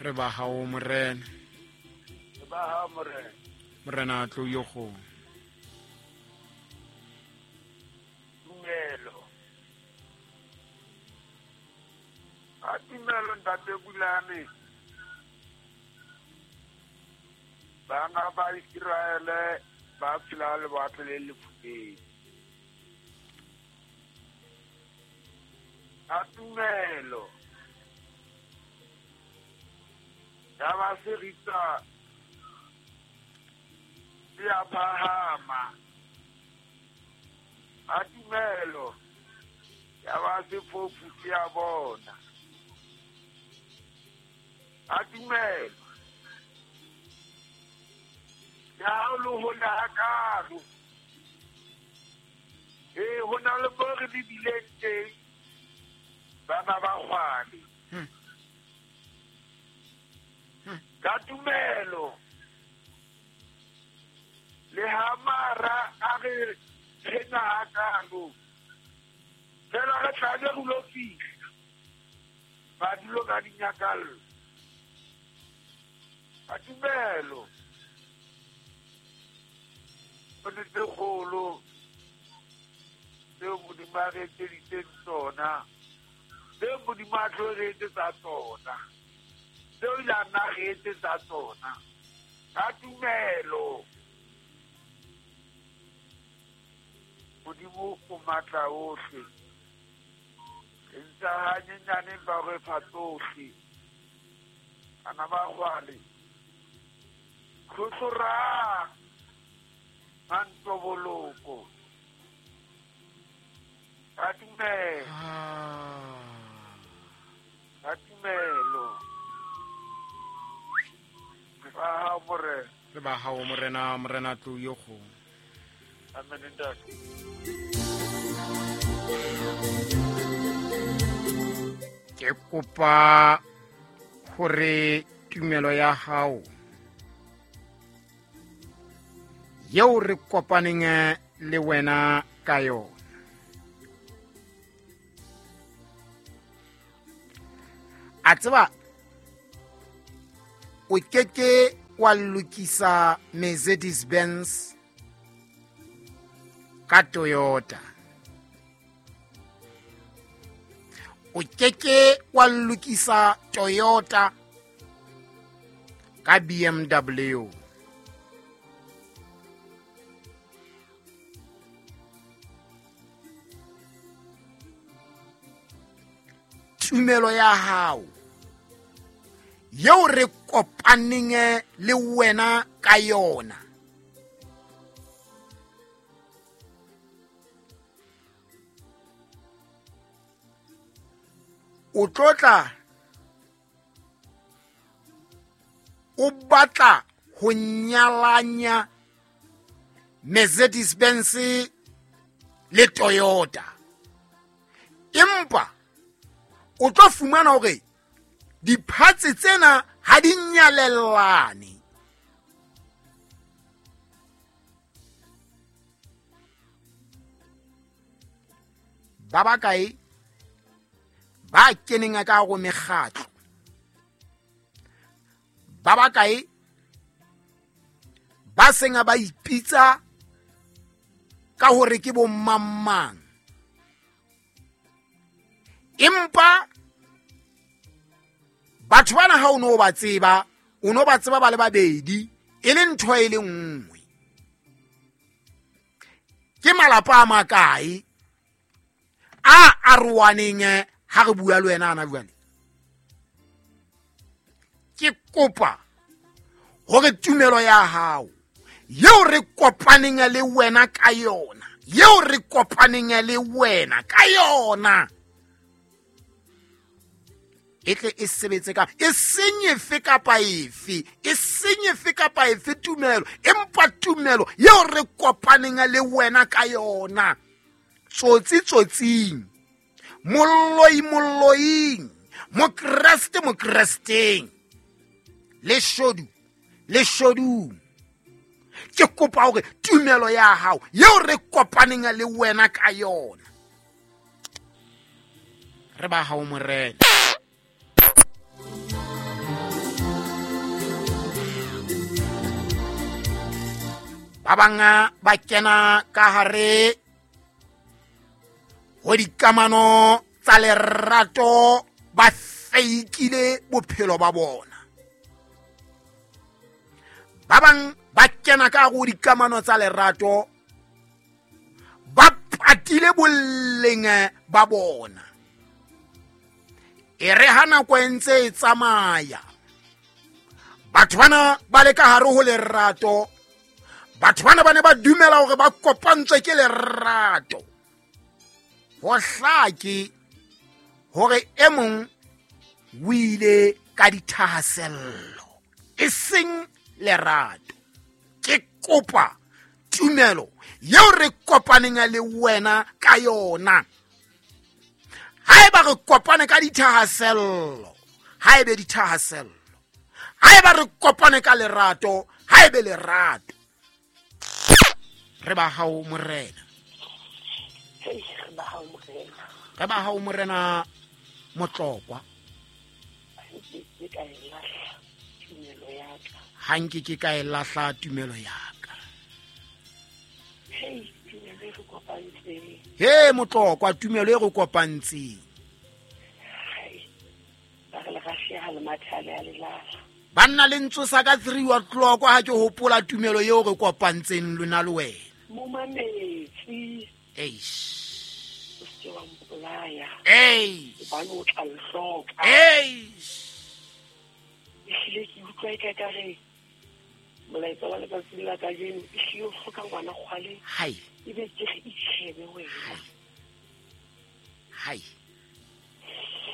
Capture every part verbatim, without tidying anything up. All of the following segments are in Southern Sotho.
Re ba hao morena. Re ba hao morena. Morena tlo yo go. Tumelo. A tumelo ntate Bulane. Bana ba Israele ba phela lewatle le lefubedi. A tumelo. Ya ba seritsa ya phahama. A tumelo. Ya ba sefofu ya bona. A tumelo. Ya lo ho la karo. E ho na le bo re bileng teng. Ba ba ba kgwane. Hmm. Hmm. Ka tumelo. Le ha mara a re tshena hakalo. Fela re tla be re lo fihla. Ba dulo ka dinyakallo. Ka tumelo. O ne tse kgolo tseo Modimo a re etseditseng tsona. Tseo Modimo a tlo re etsetsa tsona. Tseo ile a nna re etsetsa tsona. Ka tumelo. Modimo o matla ohle. Re ntse hanyenyane ba re fa tsohle. Bana ba kgwale. Tlhotlhorang mantsoboloko. Ka tumelo. Ka tumelo. Re ba hao morena. Re ba hao morena, morena tlo yo go. Amen ntate. Ke kopa hore tumelo ya hao yeo re kopaneng le wena ka yona a tseba o keke wa lokisa Mercedes Benz ka Toyota, o keke wa lokisa Toyota ka B M W. Tumelo ya hao yeo re kopaneng le wena ka yona o tlotla o batla ho nyalanya Mercedes Benz le Toyota, empa o tlo fumana hore diphatse tsena ha di nyalellane. Ba bakae ba keneng ka go mekgatlo, ba bakae ba seng ba ipitsa ka hore ke bo mang, empa batho bana ha o no ba tseba, o no ba tseba ba le babedi e le ntho e le nngwe. Ke malapa a makae a arohaneng ha re bua le wena ana jwale? Ke kopa hore tumelo ya hao yeo re kopaneng le wena ka yona, yeo re kopaneng le wena ka yona e tle e sebetse ka e seng efe kapa efe, e seng efe kapa efe tumelo, empa tumelo yeo re kopaneng le wena ka yona. Tsotsi tsotsing, molloi molloing, mokreste mokresteng, leshodu leshodung. Ke kopa hore tumelo ya hao yeo re kopaneng le wena ka yona re ba hao morena. Ba bang ba kena ka hare ho dikamano tsa lerato ba feikile bophelo ba bona. Ba bang ba kena ka go dikamano tsa lerato ba patile boleng ba bona. E re ha nako e ntse e tsamaya, batho bana ba le ka hare ho lerato, batho bana ba ne ba dumela hore ba kopantswe ke lerato. Ho hlake hore e mong o ile ka dithahasello, e seng lerato. Ke kopa tumelo eo re kopaneng le wena ka yona. Haeba re kopane ka dithahasello, haebe dithahasello. Haeba re kopane ka lerato, haebe lerato. Re ba hao Morena. Hey, re ba hao Morena. Re ba hao Morena Motlokwa. Ke ka e lahla tumelo ya ka. Ha nke ke ka e lahla tumelo ya ka. Hey, tumelo e re kopantseng. He Motlokwa, tumelo e re kopantseng. Hai. Ba re le rasheha le mathale a lelala. Banna le ntsosa ka three o'clock ha ke hopola tumelo eo re kopantseng lona le wena. Momametsi. Eish. O se wa mpolaya. Eish. Hobane o tla nhloka. Eish. Ehlile ke utlwa eka ka re molaetsa wa letsatsi la kajeno ehlile o hloka ngwana kgwale. Hai. Ebe ke re itjhebe wena. Hai.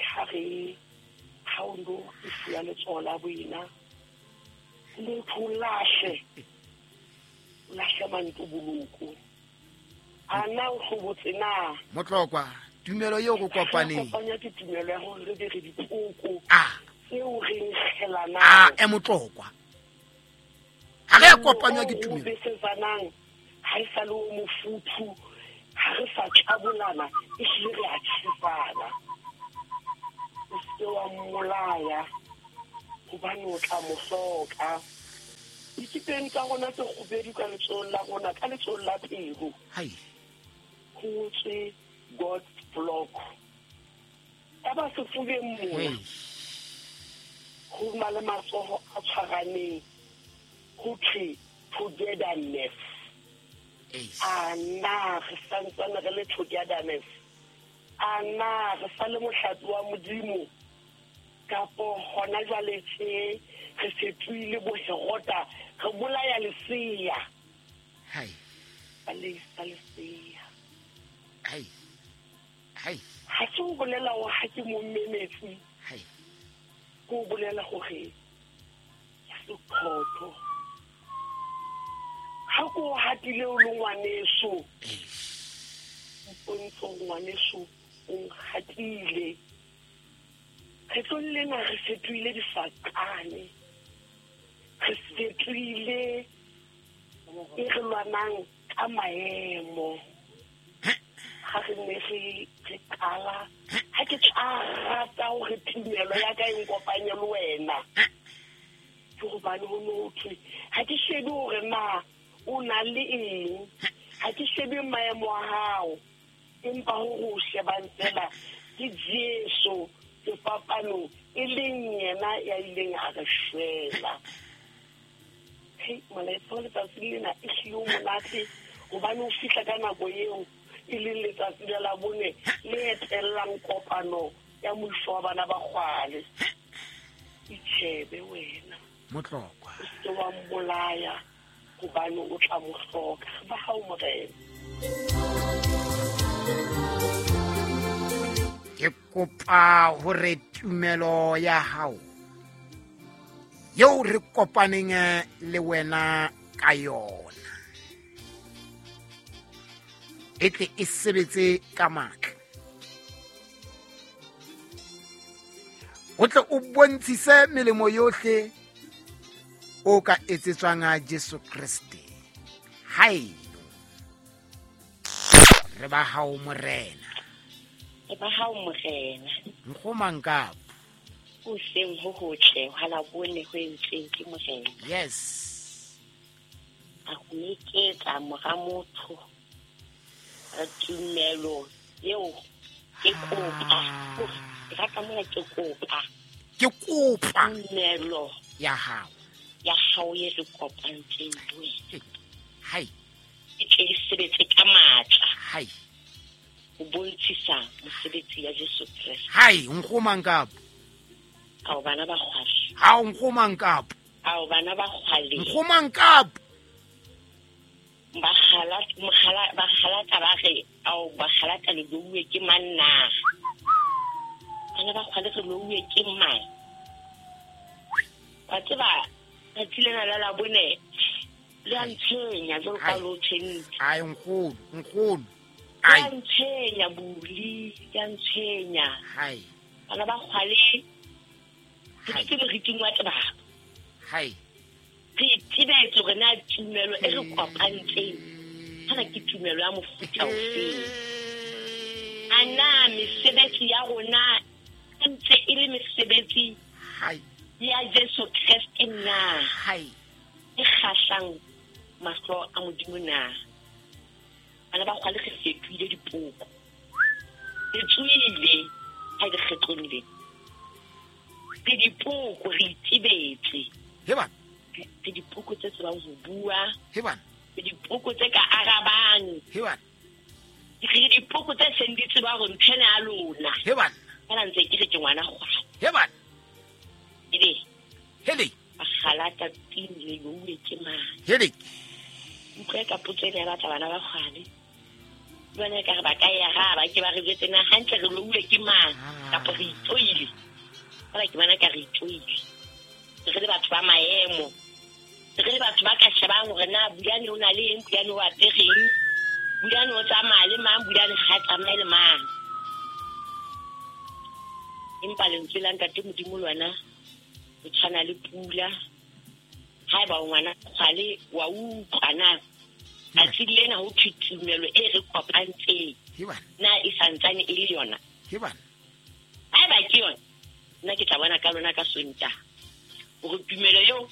Ha re ha o ndo e fuwa letsoho la boena, motho o lahle. O lahle mantoboloko. A na o hlobotse na? Motlokwa, tumelo eo re kopaneng. Kopanya ke tumelo ya hore re be re dipoko. Ah. Tseo re nkgelanang. Ah, e Motlokwa. Ha re a kopanywa ke tumelo. O besetsanang, ha e sa le o mofuthu, ha re sa tlabolana, ehlile re a tjhesana. O se wa mmolaya, hobane o tla mo hloka. Dikipeng tsa rona tse kgubedu ka letsohong la rona, ka letsohong la pelo. Hai. Ho ngotswe God's block. Ka ba sefubeng mona. Ho na le matsoho a tshwaraneng. Ho thwe togetherness. A na re santsane re le togetherness? A na re sa le mohlape wa Modimo? Kapo hona jwale tje re fetohile boherota, re bolaya lesea. Hai. Ba leisa lesea. Hai. Hai. Ha se ho bolela hore ha ke mo mmemetsi. Hai. Ke ho bolela hore ke seqhotho. Ha ko hatile o le ngwaneso. Mpontsho ngwaneso o nkgatile. Kgetlong lena re fetohile difaqane. Re fetohile e re lwanang ka maemo. Ha re ne re re qala, ha ke tla rata hore tumelo ya ka e nkopanye le wena. Ke hobane ho no thwe ha ke shebe hore na o na le eng, ha ke shebe maemo a hao, empa hore o shebang fela ke Jesu sefapanong e leng yena ya ileng a re shwela. Hei, molaetsa wa letsatsi lena ehlile o monate hobane o fihla ka nako eo e leng letsatsi la Labone le etellang kopano ya moifo wa bana ba kgwale. Itjhebe wena. Motlokwa. O se wa mmolaya hobane o tla mo hloka. Ba hao Morena. Ke kopa hore tumelo ya hao eo re kopaneng le wena ka yona e tle e sebetse ka matla. O tle o bontshise melemo yohle o ka etsetswang a Jesu Kreste. Haeno re ba hao Morena. Re ba hao Morena. Nkgomang kapo. O seng ho hotle ha la bone ho entseng ke Morena. Yes. A go meketsa mora motho re tumelo eo ke kopa ke rata mona ke kopa ke kopa tumelo ya hao ya hao e re kopantseng le wena hai e tle e sebetse ka matla hai ho bontshisa mosebetsi ya Jesu Kreste hai nkgomang kapo ao bana ba kgwale ha o nkgomang kapo ao bana ba kgwale nkgomang kapo ba kgalata mokgala ba kgalata ba re ao ba kgalata le louwe ke manna bana ba kgwale re louwe ke mang wa tseba tsatsi lena la labone le a ntshwenya jwalo ka lo tshwentse ai nkgono nkgono le a ntshwenya buli le a ntshwenya hai bana ba kgwale re ke moriting wa tebabo hai re itebetse hore na tumelo e re kopantseng kana ke tumelo ya mofuta ofeng a na mesebetsi ya rona e ntse e le mesebetsi hai ya Jesu Kreste na hai e kgahlang mahlo a Modimo na bana ba kgwale re fetohile dipoko re tswile ha re kgetlong le re dipoko re itebetse he bana re dipoko tse tsebang ho bua he bana re dipoko tse ka arabang he bana re dipoko tse seng di tseba hore ntho ena ya lona he bana kana ntse ke re ke ngwana kgwale he bana ebe hele ba kgalata tini le louwe ke mang hele utlwe ka potso ena ya batla bana ba kgwale le bona ekare ba ka e araba ke ba re jwetse na hantle re louwe ke mang kapa re itsoile fela ke bona ka re itsoile re le batho ba maemo re le batho ba ka shebang hore na Bulane o na le eng Bulane o apereng Bulane o tsamaya le mang Bulane ha tsamaye le mang empa lentswe la Ntate Modimo lona o tshwana le pula haeba o ngwana kgwale wa utlwa na tsatsi lena ho thwe tumelo e re kopantseng he bana na e santsane e le yona he bana haeba ke yona nna ke tla bona ka lona ka Sontaha hore tumelo eo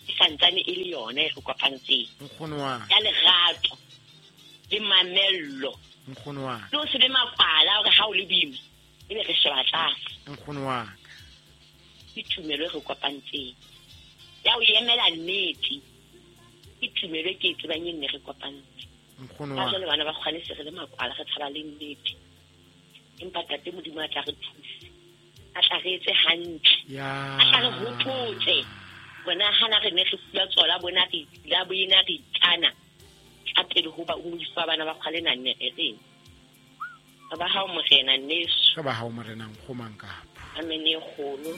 e santsane e le yona e re kopantseng nkgono wa ya lerato le mamello nkgono wa le ho se be makwala hore ha o le boima ebe re sheba tlase nkgono wa ke tumelo e re kopantseng ya ho emela nnete ke tumelo e ke e tsebang e nne re kopantse nkgono ka wa jwale bana ba kgwale se re le makwala re tshaba le nnete empa Ntate Modimo a tla re thuse a tla re etse hantle ya a tla re hopotse bona hana re ne re fuwa tsona bona re la boena re ikana ka pele ho ba o fa bana ba kgwale na nne re reng ka ba hao morena nneso ka ba hao morena nkgomang kapo amen e kgolo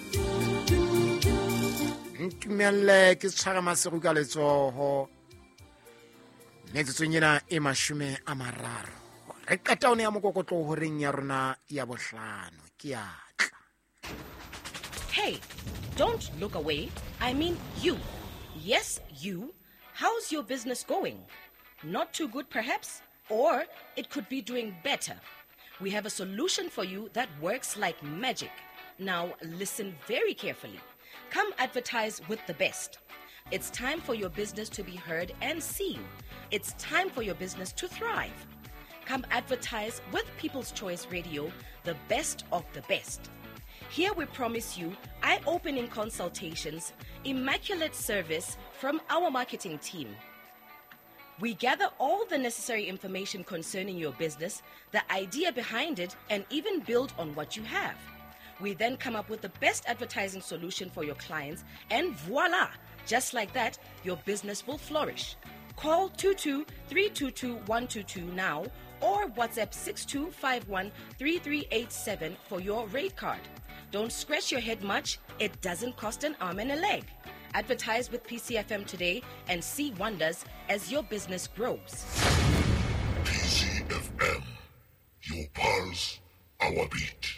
ntumelle ke tshwara masego ka letsoho metsotsong ena e mashome a mararo re qeta one ya mokokotlo horeng ya rona ya bohlano ke a tla Hey, don't look away. I mean you. Yes, you. How's your business going? Not too good, perhaps? Or it could be doing better. We have a solution for you that works like magic. Now, listen very carefully. Come advertise with the best. It's time for your business to be heard and seen. It's time for your business to thrive. Come advertise with People's Choice Radio, the best of the best. Here we promise you eye-opening consultations, immaculate service from our marketing team. We gather all the necessary information concerning your business, the idea behind it, and even build on what you have. We then come up with the best advertising solution for your clients, and voila! Just like that, your business will flourish. Call two two three two two one two two now or WhatsApp six two five one three three eight seven for your rate card. Don't scratch your head much. It doesn't cost an arm and a leg. Advertise with P C F M today and see wonders as your business grows. P C F M, your pulse, our beat.